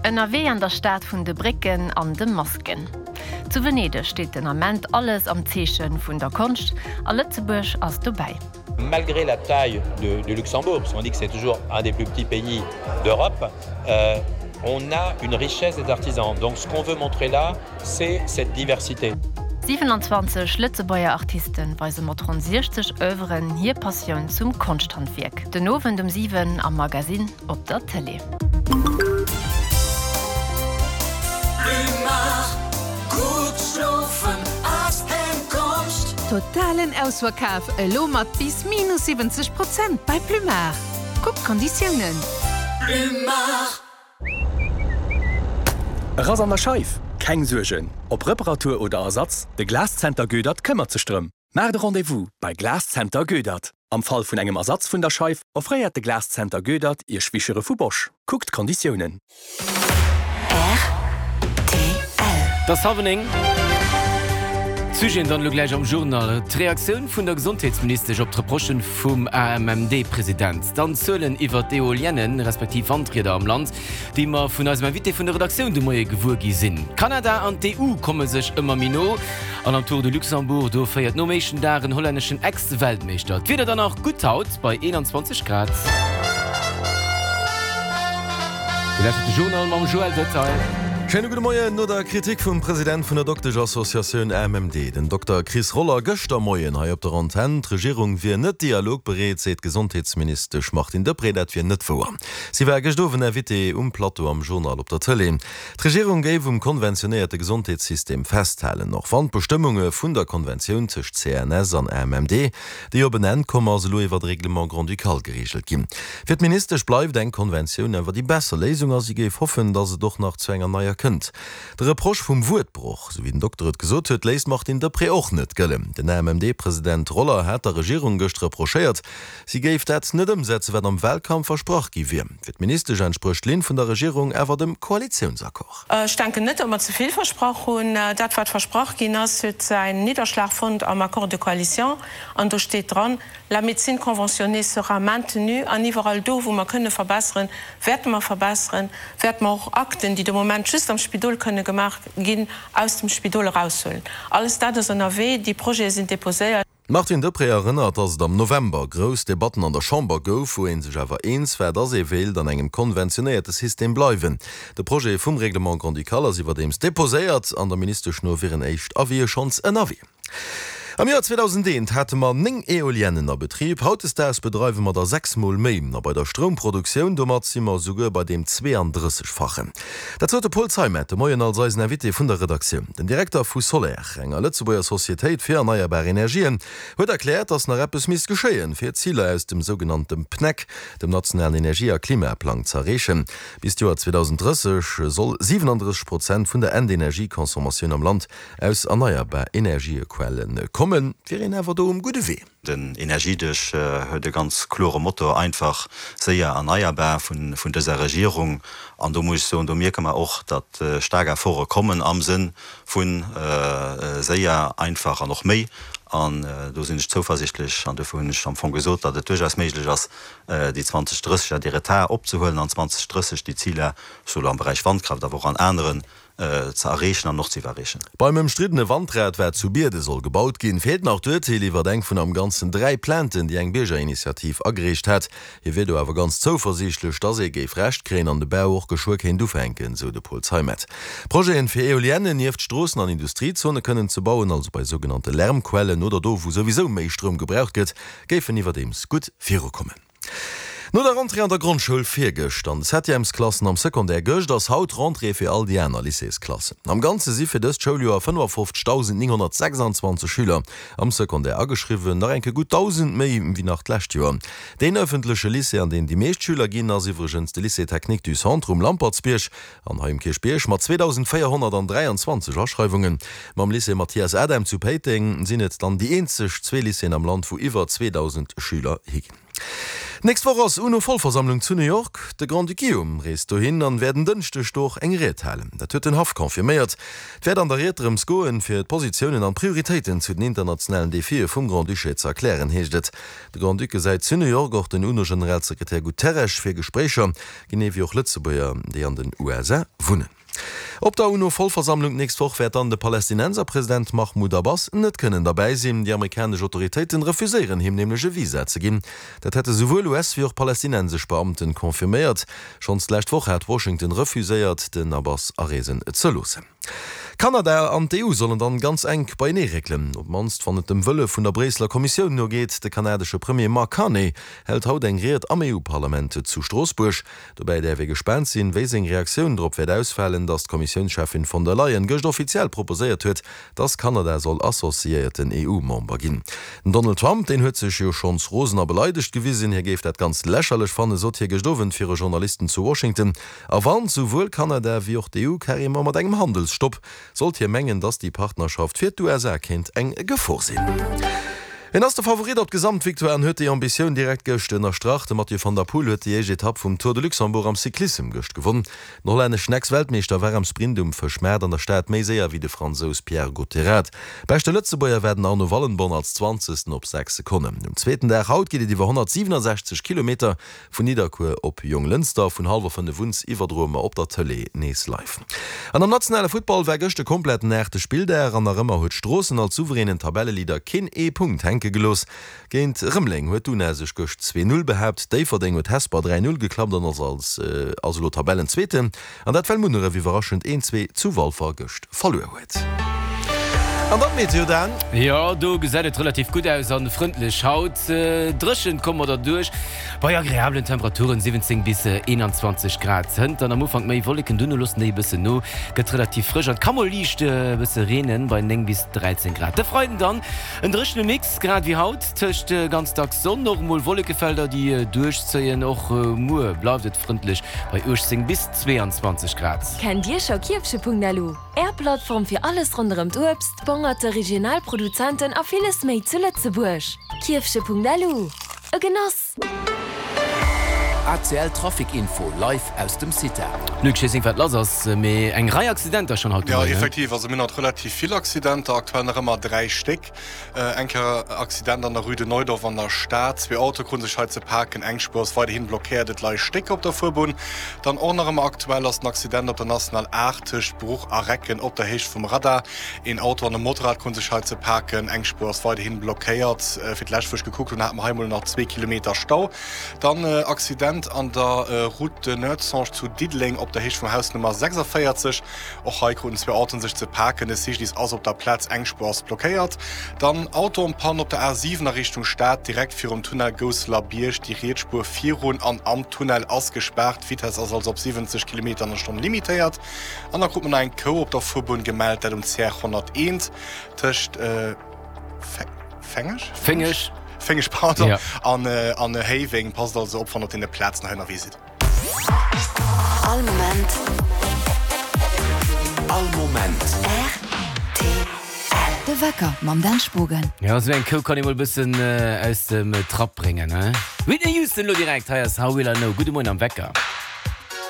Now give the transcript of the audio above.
Ënnerwee an der Stad vun de Brécken an de Masken. Zu Venedeg steet den Ament alles am Zeeche vun der Konscht a Lëtzebuerg ass dobäi. Malgré la taille de, du Luxembourg, parce qu'on dit que c'est toujours un des plus petits pays d'Europe, euh, on a une richesse des artisans. Donc ce qu'on veut montrer là, c'est cette diversité. 27 Lëtzebuerger Artiste weise mat ronn 60 Oeuvren hir Passioun zum Konschthandwierk. Den Owend um 7 am Magazine op der Tëlee. Totalen Ausverkaf elo mat bis minus 70 Prozent bei Plumard. Kuckt d'Konditiounen. E Rass an der Scheif? Keng Suergen, ob Reparatur oder Ersatz, de Glaszenter Goedert këmmert sech drëm. Maacht e Rendez-vous bei Glaszenter Goedert. Am Fall vun engem Ersatz vun der Scheif offréiert de Glaszenter Goedert Iech Wischere vu Bosch. Kuckt d'Konditiounen. Et ass hallwer 9. D'Sujeten dann elo gläich am Journal, D'Reaktioun vun der Gesondheetsministesch op d'Reprochen vum AMMD-President, dann Zuelen iwwer d'Eoliennen, respektiv Wandrieder am Land, déi mer vun eisem Invité vun der Redaktioun de Moie gewuer gi sinn. Kanada an d'EU komme sech ëmmer méi no an am Tour de Luxembourg, do féiert nom éischten Dag en hollänneschen Ex-Weltmeeschter. D'Wieder dann nach gutt haut bei 21 Grad. Dir lauschtert de Journal mam Joël Detail. Schéine gudde Moien. No der Kritik vum President vun der Dokteschassociatioun AMMD, den Dokter Chris Roller, gëschter Moien hei op der Antenn, d'Regierung wier net dialogbereet, seet d'Gesondheetsministesch Martine Deprez, dat wier net wouer. Si war gëscht Owend Invitée um Plateau am Journal op der Tëlee. D'Regierung géif um konventionéierte Gesondheetssystem festhalen, och wann d'Bestëmmunge vun der Konventioun tëscht CNS an AMMD, déi op en Enn komm ass, elo iwwer e Règlement grand-ducal gereegelt ginn. Fir d'Ministesch bleift eng Konventioun awer déi besser Léisung a si géif hoffen, datt et och nach zu enger neier kënnt. De Reproche vum Wuertbroch, sou wéi den Dokter et gesot huet, léisst d'Martine Deprez och net gëllen. Den AMMD-President Roller hat der Regierung gëscht reprochéiert, Si géif dat net ëmsetzen, wat am Wahlkampf versprach gi wier. Fir d'Ministesch entsprécht d'Linn vun der Regierung awer dem Koalitiounsaccord. Ech denken net, datt mer ze vill versprach hunn. Dat, wat versprach ginn ass, huet säin Nidderschlag fonnt am Accord de coalition. An do steet dran, La médecine conventionnée sera maintenue. An iwwerall do, wou mer kënne verbesseren, wäerte mer verbesseren, wäerte mer och Akten, déi de Moment just am Spidol kënne gemaach ginn, aus dem Spidol eraushuelen. Alles dat ass ënnerwee. Déi Projete sinn déposéiert. D'Martine Deprez erënnert, datt et am November grouss Debatten an der Chamber gouf, wou ee sech awer eens war, datt ee wéilt an engem konventionéierte System bleiwen. De Projet vum Règlement grand-ducal ass iwwerdeems deposéiert an der Ministesch no wieren éischt Avisë schonns ënnerwee. Am Joer 2001 hate mer 9 Eoliennen a Betrib, hautdesdaags bedreiwe mer der 6 mol méi. A bei der Stroumproduktioun, domat si mer esouguer bei deem 32-fachen. Dat sot de Paul Zeimet de Moien als eisen Invité vun der Redaktioun. Den Direkter vu Soler, enger Lëtzebuerger Societéit fir erneierbar Energien, huet erkläert, datt nach eppes misst geschéien, fir d'Ziler aus dem sougenannte PNEC, dem nationalen Energie a Klimaplang, z'erreechen. Bis d'Joer 2030 soll 37 Prozent vun der Endenergieconsommatioun am Land aus erneierbar Energiequelle kommen. Et wier een awer do um gudde Wee. Den Energiedësch huet e ganz klore Motto, einfach, séier, erneierbar vun dëser Regierung. An do muss ech soen, do mierke mer och, datt staark Efforte kommen am Sënn vu séier, einfach an och méi. An do sinn ech zouversichtlech an dofir hunn ech am Fong gesot, datt et duerchaus méiglech ass, déi 2030er, dee Retard opzehuelen an 2030 déi Ziler, souwuel am Beräich Wandkraaft, awer och an aneren, ze erreechen an och ze iwwerreechen. Beim ëmstriddene Wandrad, wat zu Bierden soll gebaut ginn, feelt nach d'Urteel iwwert eng vun am Ganzen 3 Plainten, déi eng Biergerinitiativ agereecht hat. Hie wier do awer ganz zouversiichtlech, dass ee géif Recht kréien an de Bau och geschwë kéint ufänken, sou de Paul Zeimet. Projeten, fir Eoliennen nieft Stroossen an Industriezone kënnen ze bauen, also bei sougenannte Lärmquellen oder do, wou souwisou méi Stroum gebraucht gëtt, géifen iwwerdeems gutt virukommen. No der Rentrée an der Grondschoul virgëscht an de Septièmesklassen am Secondaire gëscht, ass haut d'Rentrée fir all déi aner Lycéesklassen. Am Ganze si fir dëst Schouljoer 55.926 Schüler am Secondaire ageschriwwen, nach enke gutt 1.000 méi wéi nach d'lescht Joer. Deen ëffentleche Lycée, an deen déi meescht Schüler ginn, ass iwwregens de Lycée Technique du Centre um Lampertsbierg an hei um Kierchbierg mat 2.423 Aschreiwungen. Mam Lycée Mathias Adam zu Péiteng sinn et dann déi eenzeg zwee Lycéeën am Land, wou iwwer 2.000 Schüler higinn. D'nächst Woch ass UNO-Vollversammlung zu New York. De Grand-Duc Guillaume reest dohin an wäert en Dënschdeg do och eng Ried halen. Dat huet den Haff confirméiert. Et wäert an der Ried drëms goen, fir d'Positiounen an d'Prioritéiten zu den internationalen Defie vum Grand-Duché ze erklären, heescht et. De Grand-Duc gesäit zu New York och den UNO-Generalsekretär Guterres fir Gespréicher, genee wéi och Lëtzebuerger, déi an den USA wunnen. Op der UNO-Vollversammlung d'nächst Woch wäert dann de Palästinenserpresident Mahmoud Abbas net kënnen derbäi sinn. Déi amerikanesch Autoritéiten refuséieren him nämlech e Visa ze ginn. Dat hätte souwuel US wéi och palästinensesch Beamten confirméiert. Schonns d'lescht Woch hat Washington refuséiert, den Abbas areesen ze loossen. Kanada an d'EU sollen dann ganz enk beienee réckelen, op d'mannst wann et dem Wëlle vun der Bréisseler Kommissioun nogeet. De kanadesche Premier Mark Carney hält haut eng Ried am EU-Parlament zu Stroossbuerg. Dobäi däerf ee gespaant sinn, wéi seng Reaktioun drop wäert ausfalen, datt d'Kommissiounscheffin von der Leyen gëscht offiziell proposéiert huet, datt Kanada soll associéierten EU-Member ginn. Den Donald Trump, deen huet sech jo schonns rosen a beleidegt gewisen. Hie géif dat Ganzt lächerlech fannen, sot hie gëscht Owend viru Journalisten zu Washington. A warnt souwuel Kanada wéi och d'EU carrément mat engem Handelsstopp. Sollt hie mengen, datt déi Partnerschaft fir d'USA kéint eng Gefor sinn. Hien ass de Favorit op d'Gesamtvictoire an huet déi Ambitioun direkt gëscht ënnerstrach. De Mathieu van der Poel huet déi éischt Etapp vum Tour de Luxembourg am Cyclissem gëscht gewonn. Den hollänneschen Ex-Weltmeeschter war am Sprint um Fëschmaart an der Stad méi séier wéi de Fransous Pierre Gotterat. Beschte Lëtzebuerger war den Arno Wallenborn als Zwanzegsten op 6 Sekonnen. Um zweeten Dag haut geet et iwwer 167 Kilometer Vun Nidderkuer op Jonglënster, vun hallwer 5 un iwwerdroe mer op der Tëlee nees live. An am nationale Futtball war gëscht e kompletten aachte Spilldag an nach ëmmer huet Stroossen als souveränen Tabelleleader keen ee Punkt hänke gelooss. Géint Rëmeleng huet d'UNA sech gëscht 2, 0 behaapt, Déifferdeng huet Hesper 3, 0 geklappt an ass als ass elo Tabellenzweeten. An dat well Munneref iwwerraschend 1, 2 zu Walfer gëscht verluer huet. An dann d'Meteo, Dan. Jo, do gesäit et relativ gutt aus an frëndlech haut. Dréchen komme mer derduerch bei agreablen Temperaturen, 17 bis 21 Grad. Hënt dann am Ufank méi Wolleken, duerno loossen déi e bëssen no, gëtt relativ frësch an et ka mol liicht e bësse reenen bei 9 bis 13 Grad. De Freiden dann en dréchene Mix, grad wéi haut, tëscht ganz dacks Sonn, och mol Wollekefelder déi duerchzéien. Och muer bleift et frëndlech bei 18 bis 22 Grad. Kennt Dir scho Kierfche.lu, Är Plattform fir alles ronderëm d'Uebst, d'Bongerte, regional Produzenten a villes méi zu Lëtzebuerg? Kierfche.lu, e Genoss! ACL Trafic Info live aus dem CITA. Luc, ech weess net wat lass ass, mee eng Rei Accidenter schonn haut de Jo, Moien, ne? effektiv, also mir hunn haut relativ vill Accidenter, aktuell nach ëmmer 3 Stéck. Eng Kéier Accident an der Rue de Neudorf an der Stad. Zwee Autoe kruten sech hei ze paken. Eng Spuer ass weiderhin blockéiert, et leie Stécker op der Fuerbunn. Dann och nach ëmmer aktuell ass den Accident op der National 8 tëscht Bruch a Recken op der Héicht vum Radar. Een Auto an e Motorrad kruten sech hei ze paken. Eng Spuer ass weiderhin blockéiert. Fir d'lescht wou ech gekuckt hunn, hate mer hei mol nach zwee Kilometer Stau. Dann Accident an der Route de Noertzange zu Diddeleng op der Héicht vum Haus Nummer 46. Och hei kruten zwou Autoen sech ze paken. De Cyclist ass op der Plaz, eng Spuer ass blockéiert. Dann Auto en panne op der A7 a Richtung Stad, direkt virum Tunnel Gousseler Bierg. Déi riets Spuer virun an am Tunnel ass gespaart. D'Vitess ass also op 70 Kilometer an der Stonn limitéiert. An da krut mer nach eng Kou op der Fuerbunn gemellt, dat um CR 101 tëscht Fengeg? Féngeg. Féngeg, pardon, an Héiweng. Passt also op, wann der op deene Plazen hei ënnerwee sidd. All Moment. All Moment. Rtl. De Wecker mam Dan Spogen. Jo, esou eng Kou kann ee mol bëssen aus dem Trapp bréngen, he? Whitney Houston lo direkt, hei ass How Will I Know. Gudde Moien am Wecker.